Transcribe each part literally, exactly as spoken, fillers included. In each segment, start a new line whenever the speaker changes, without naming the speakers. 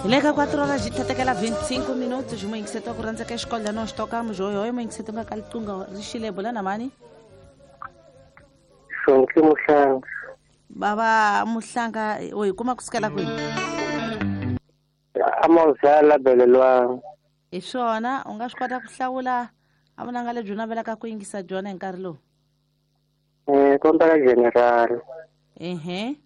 Hi le ka quatro horas de tatekela vinte e cinco minutos muyingiseti wa ku rhandza ka xikolelo no xitokamo oi muyingiseti nga ka liqingho ri xile bula na mani
Sonke Muhlanga.
Baba Muhlanga u hi kuma kusukela kwihi?
Amazala belelwang.
Hi swona u nga swi kota ku hlawula a vunanga lebyi u navelaka ku yingisa byona hi nkarhi lowu?
Eh, kombela general.
Ehe.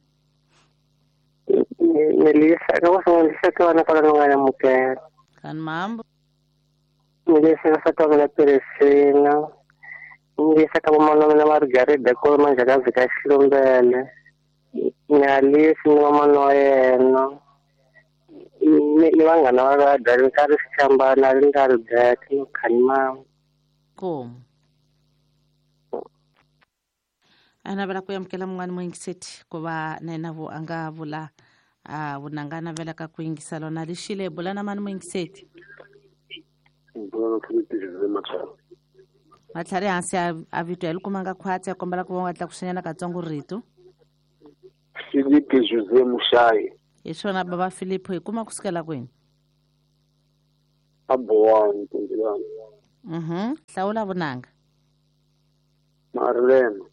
Melissa, ka go Melissa ke wena kwala nga amukela.
Kan mambo.
Melissa ka sa la Peresina. Melissa ka mama na Margaret da ko manje ka vika Xihlumbele. Nyalisi ni mama wa yena. Ni ni vanghana va va dali nkarhi Xichambana ri nkarhi Black no Khanimama.
Komu. A navela ku amukela mun'wana muyingiseti ku va na yena vo a nga vula a vunanga navelaka ku yingisa lona lexile bula na mani muyingiseti. Matlhari hansi a vito ya likumanga khwatsi a kombela ku va u nga tlakusinyana katsongo rito.
Filipe José Muxayi.
Hi swona baba Filipe hi kuma kusukela kwini?
A Bowani Tindilani.
Mhm. Hlawula vunanga.
Marlene.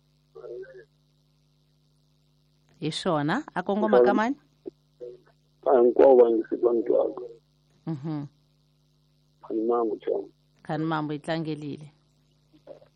Hi swona a kongoma ka mani?
Hinkwavo va yingisi va ni twaka.
Mhm.
Khanimambo chama.
Khanimambo yi tlangelile.